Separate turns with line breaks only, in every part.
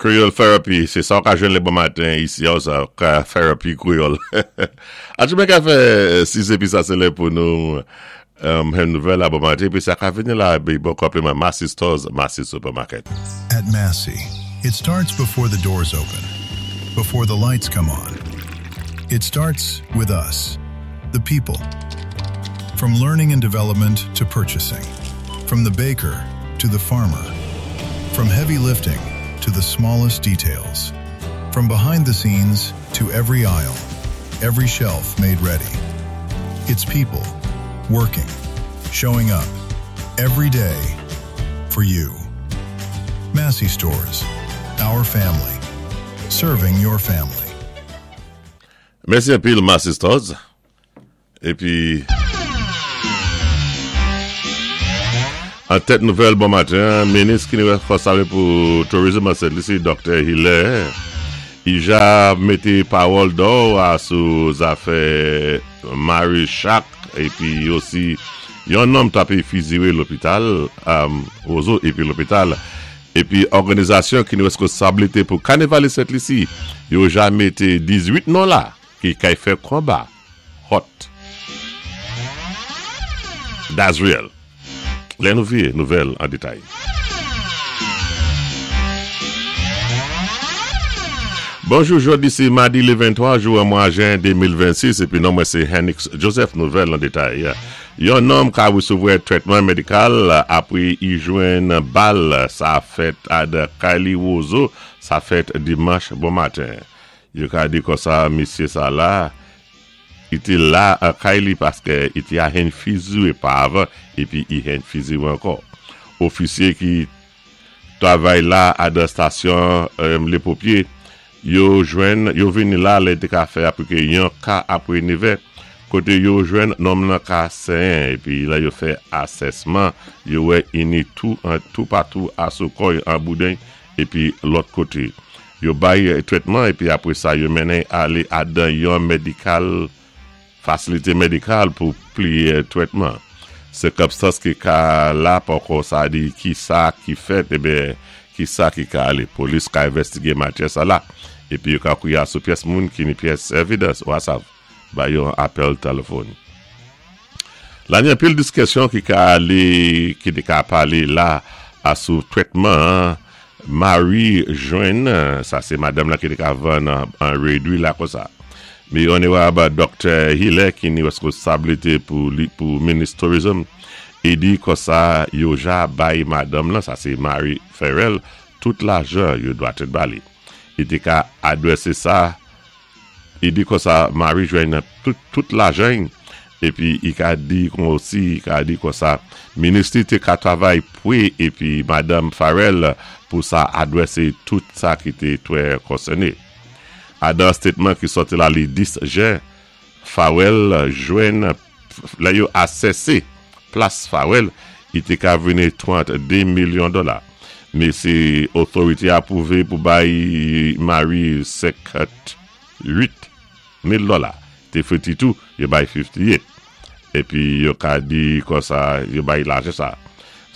Creole Therapy, sé sa ou ka jwenn lé bon maten isi a ou sa ka therapy Creole. Achemen ka fè 6 épi sa sé lè pou nou jwenn nouvèl la bon maten épi sa ka vini la épi bon konpliman Massy Stores, Massy Supermarket.
At Massy, it starts before the doors open, before the lights come on. It starts with us, the people. From learning and development to purchasing, from the baker to the farmer, from heavy lifting to the smallest details, from behind the scenes to every aisle, every shelf made ready. It's people working, showing up every day for you. Massy Stores, our family, serving your family.
Mèsi anpil Massy Stores. Epi An tèt nouvèl bon maten an, minis ki responsab pou tourism an Sent Lisi, Doktè Hilaire Ija mete pawòl dò a sou zafè Mary Shack epi osi yon nonm t ape fizire lopital Wozo epi lopital epi òganizasyon ki reskonsablite pou kanevali Sent Lisi yo ja mete 18 non la ki kay fè konba Hot. Dazriel. Lè nou vire nouvèl an detay. Bonjou jodi se madi le 23 jou an mwa jen 2026 epi non mwen se Henix Joseph nouvèl an detay. Yon nonm ka resevwè trètman medikal apre i jwenn bal sa fèt ad kay li Wozo sa fèt dimanch bon maten. Yo ka di konsa misye sa la i té la an kay li paskè i té a henn fiziwé pa avan épi i henn fiziwé ankò. Ofisye ki travay la adan stasyon lé popye yo jwenn yo vini la lè te ka fè aplike yon ka apwé nevè koté yo jwenn nonm lan ka senyen épi lè yo fè asèsman yo wè ini tou an toupatou a sou kò y an bouden épi lòt koté. Yo bay trètman epi apre sa yo mennen ale adan yon medikal fasilite medikal pou pli trètman. Sikonstans ki ka la poko sa di ki sa ki fèt eben ki sa ki ka ale. Polis ka envestige matyè sa la epi yo ka kouya sou pyès moun ki ni pyès evidans wasav ba yon apèl telefòn. La ni anpil diskesyon ki ka ale ki te ka pale la a sou trètman an Mari jwenn, sa se madanm lan ki te ka vann an redwi la konsa. Mi Onerab Doktè Hilaire ki ni reskonsablite pou li pou minis tourism e di konsa yo ja bay madanm lan, sa se Mari Ferrell, tout lajan yo dwa te ba li. Li te ka adrese sa Li di konsa Mari jwenn tout tout lajan y epi i ka di kon osi i ka di konsa minis li te ka travay pwe epi madanm Farrell pou sa adwese tout sa ki te twè konsène. Adan statement ki sòti la li 10 jen Farrell jwenn lè yo asèse plas Farrell i te ka vini 32 milyon dola. Mesi otorite apwouve pou bay Mari 58 mil dola. Te freti tou, yo bay 58. Epi yo ka di konsa yo bay lajan sa.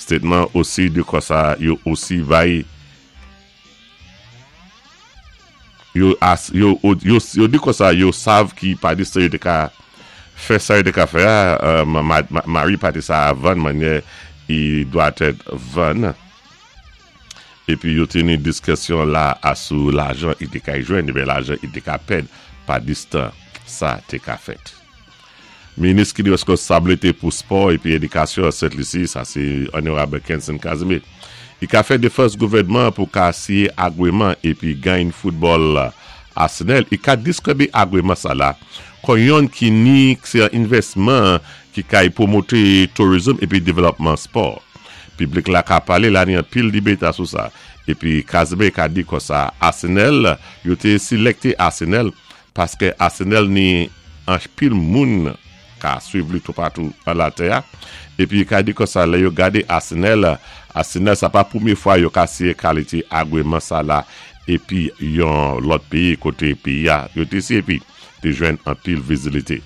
Statement osi di konsa yo osi bay Yo yo yo di konsa yo sav ki pa di sa yo te ka fè sa yo te ka fè a mari pati sa a vann manyè i dwatèt vann epi yo teni diskesyon la a sou lajan i te kay jwenn ebyen lajan i te ka pèd pa distan sa te ka fèt. Minis ki reskonsablite pou spò epi edikasyon an Sent Lisi, sa se Onorab Kenson Casimir, i ka fè defans gouvènman an pou ka siye agweman epi gagn foutbòl Arsenal, i ka diskribe agweman sa la kon yonn ki ni se yon envèsman ki kay pwomote tourism epi develòpman spò. Piblik la ka pale la ni anpil debate sou sa. Epi Casimir ka di konsa Arsenal, yo te silekte Arsenal Paske Arsenal ni anpil moun ka swiv li toupatou an latè a, epi ka di konsa lè yo gade Arsenal, Arsenal sa pa premye fwa yo ka siye kalite agreman sa la epi yon lòt peyi kote peyi a yo te siye epi te jwenn anpil vizilite.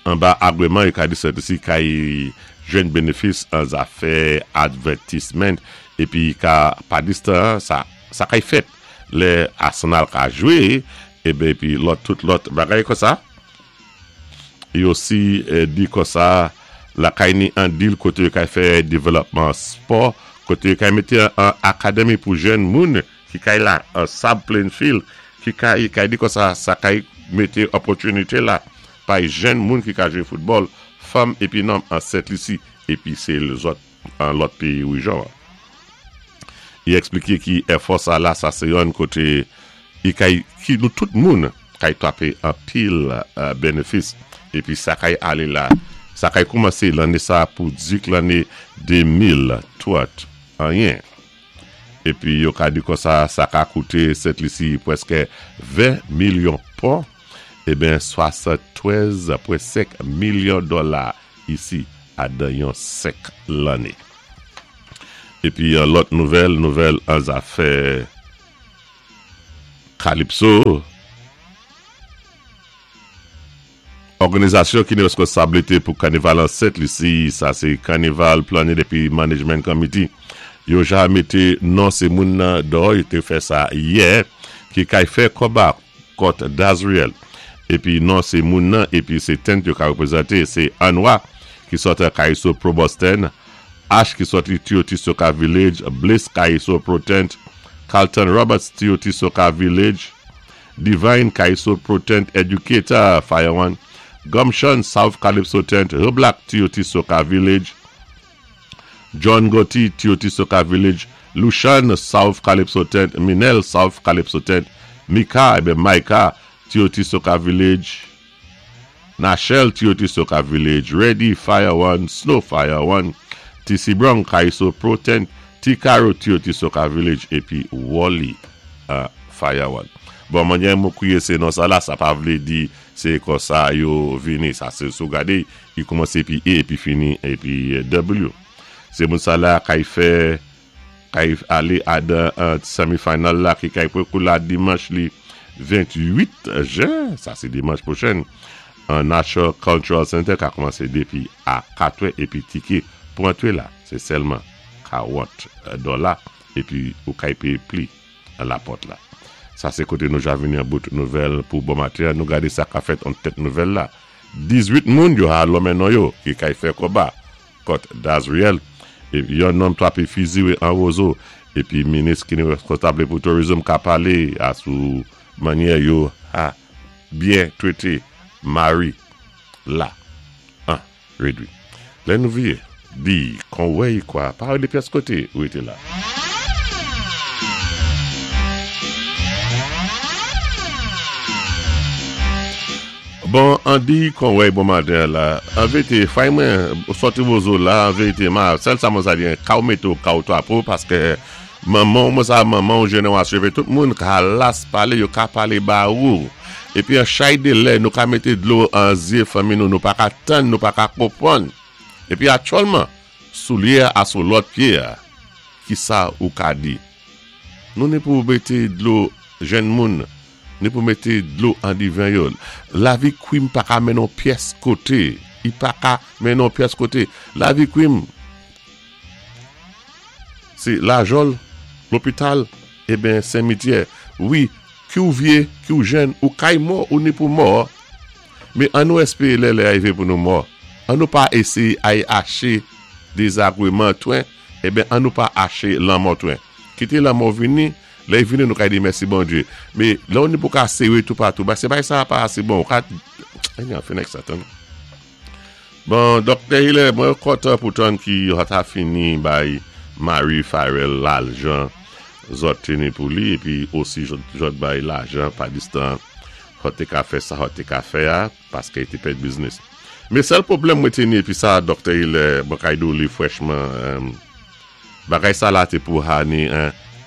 Anba agreman yo ka di sètisi kay jwenn benefis an zafè advètisment epi ka pa distan sa. sa kay fèt lè Arsenal ka jwe eben epi lòt tout lòt bagay konsa. E osi di konsa lakay ni an dil koté yo kay fè developman spò, koté yo kay mété an akademi pou jèn moun ki kay la an Sab Plainfield ki kay kay di konsa sa kay mété opòtinité la pay jèn moun ki ka jwé foutbòl fanm epi nonm an Sent Lisi epi se lzòt an lòt peyi rejyon an. I eksplike ki èfò sa la sa se yonn kote i kay ki nou tout moun kay trape anpil benefis epi sa kay ale la sa kay koumanse lanne sa pou dik lanne 2030 anyen epi yo ka di konsa sa ka koute Sent Lisi pwèske 20 milyon pon eben 73.5 milyon dòla isi adan yon 5 lanne. Epi yon lòt nouvèl, nouvèl an zafè Kalipso, òganizasyon ki gen reskonsablite pou kanival an Sent Lisi, sa se Carnival Planning epi Management Committee, yo ja mete non se moun nan dò, yo te fè sa yè, ki kay fè konba kont Dazriel. Epi non se moun nan epi se tent yo ka reprezante se Anwa ki sòt an Kaiso Pro Boston, Ash ki sòt li TOT Soca Village, Bliss Kaiso Pro Tent, Carlton Roberts TOT Soca Village, Divine Kaiso Pro Tent Educator Fire One, Gumption South Calypso Tent, Black TOT Soca Village, John Gotti TOT Soca Village, Lushan South Calypso Tent, Minel South Calypso Tent, Mika eben Micah TOT Soca Village, Nachelle TOT Soca Village, Ready Fire One, Snow Fire One, TC Brown Kaiso Pro Tent, T Caro TOT Soca Village epi Wally Fire One. Bon manyè mwen kwiye se non sa la sa pa vlé di se konsa yo vini sa se si w gade li koumanse epi E epi fini epi W. Se moun sa la kay fè kay ale adan semi final la ki kay pran kou la dimanch li 28 jen sa se dimanch pwochen an National Cultural Center ka koumanse depi a 4 è epi tike pou antre la se sèlman 40 dòla epi ou kay peye pli an la pòt la. Sa se kote nou ja vini an bout nouvèl pou bon maten an nou gade sa ka fèt an tèt nouvèl la 18 moun yo ha lonmen non yo ki kay fè konba kont Dazriel epi yon nonm trape fiziwe an Rozo epi minis ki responsable pou tourism ka pale a sou manyè yo ha byen trete Marie la an. Redwi. Lè nou vye, di, kon wè y kwa, pa rele pyès kote, rete la. Bon, an di, kon wè y bon maten an la, an verite, fay mwen, sòti wozo la, an verite, ma, sèl sa mwen sa di, ka w mete w, ka w trape w, paske manman w, mwen sa manman w jenerasyon, epi tout moun ka las pale, yo ka pale ba ou. Epi an chay de lè nou ka mete dlo an zye fanmi nou, nou pa ka tann, nou pa ka konprann. Epi aktyèlman, soulye a sou lòt pye a, ki sa ou ka di? Nou ni pou mete dlo jenn moun, ni pou mete dlo an diven yo. Lavi kwim pa ka mennen w pyès kote. I pa ka mennen w pyès kote. Lavi kwim se lajòl, lopital, eben semityè. Wi, Ki w vye, ki w jèn, ou kay mò, ou ni pou mò. Men an nou espere lè lè a rive pou nou mò. An nou pa eseye ay ache dezagreman twen, eben an nou pa ache lanmò twen. Kite lanmò vini, lè y vini nou kay di mèsi Bondye. Men lè w ni pou ka sere toupatou, ba se bagay sa a pa ase bon. Ou ka, anyway, fè nèg sa tande. Bon Doktè Hilaire mwen kontan pou tann ki yo ta fini bay Marie Farel lajan zòt teni pou li epi osi jòt bay lajan pa distan hòt te ka fè sa hòt te ka fè a paske te pèd biznis. Men sèl pwoblèm mwen teni epi sa Doktè Hilaire mwen kay di w li frèchman bagay sa la te pou ha ni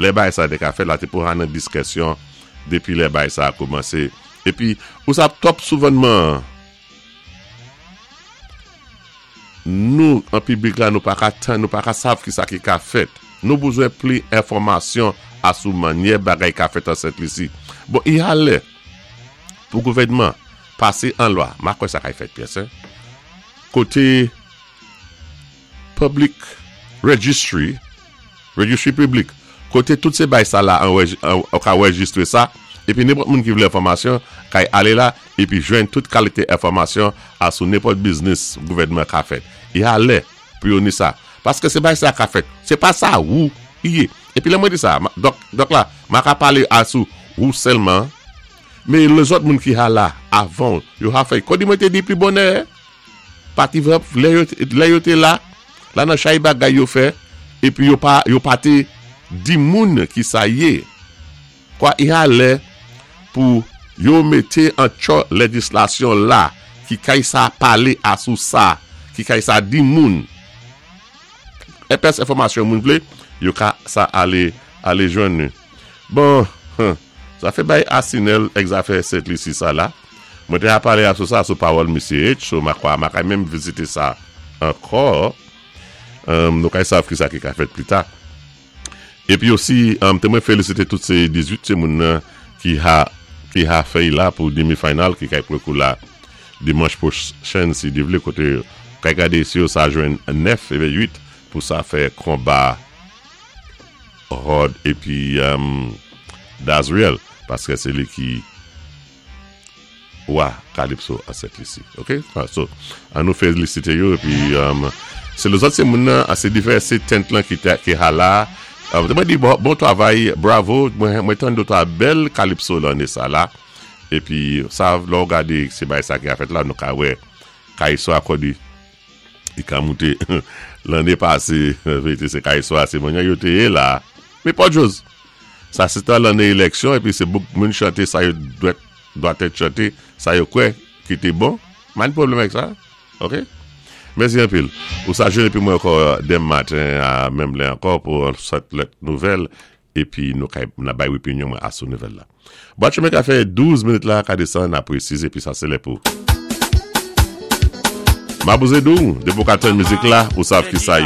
lè bagay sa te ka fèt la te pou ha nan diskresyon depi lè bagay sa koumanse epi ou sa twòp souvènman Nou an piblik la nou pa ka tann, nou pa ka sav ki sa ki ka fèt. Nou bezwen pli enfòmasyon asou manyè bagay ka fèt an Sent Lisi. Bon, i a lè pou gouvènman pase an lwa, ma kwè sa kay fèt pyès hein, kote public registry, registry piblik, Koté tout sé bay sa la ou ka anwéjistré sa, épi nenpòt moun ki vlé enfòmasyon kay alé la épi jwenn tout kalité enfòmasyon a sou nenpòt biznis gouvèdman ka fè. I a lè pou yo ni sa. Paské sé bay sa ka fèt. Sé pa sa wou i yé. Épi lè mwen di sa, dòk, dòk la, ma ka palé a sou wou sèlman, men lèzòt moun ki ha la avan w, yo ha fè. Kòdi mwen té di pi bonè, pati vre, lè yo, lè yo té la, la nan chay bagay yo fè, épi yo pa, yo pa té di moun ki sa yé. Kwa i ha lè pou yo mété an tchò lèjislasyon la ki kay sa palé a sou sa, ki kay sa di moun. Èpès enfòmasyon moun vlé, yo ka sa alé, alé jwenn ni. Bon, huh, zafè bay Asinèl èk zafè Sent Lisi sa la, mwen té a palé a sou sa sou pawòl misye H, so ma kwa ma kay menm vizité sa ankò. Umm, nou kay sav ki sa ki ka fèt pli ta. Epi osi, te mwen felisite tout se 18 ti moun nan ki ha ki ha fèy la pou demi final ki kay prekou la dimanch pwochen si Dye vle kote kay gade si yo sa jwenn 9 ebe 8 pou sa fè konba Rod epi Dazriel paske se li ki Wa Calypso an Sent Lisi ok so an nou felisite yo epi se lezòt se moun nan se divèse tent lan ki te ki ha la mwen di bon travay bravo mwen tande w ta bèl Calypso lanne sa la epi sa lè w gade se bagay sa ki a fèt la nou ka wè Calypso akòde li ka moute lanne pase verite se Calypso a se manyè yo te ye la men pòdjoz sa se tan lanne eleksyon epi se bouk moun chante sa yo dwèt Dwa tèt chante sa yo kwè ki te bon, m pa gen pwoblèm avèk sa ok. Mèsi anpil. Ou sa jwenn epi mwen ankò denm maten a menm lè ankò pou yon sòt lòt nouvèl epi nou ka na bay opinyon mwen a sou nouvèl la. Bwat chemen ka fè 12 minit la ka desann apre 6 epi sa se lè pou Mabouze di w depi w ka tann mizik la ou sav kisa ye.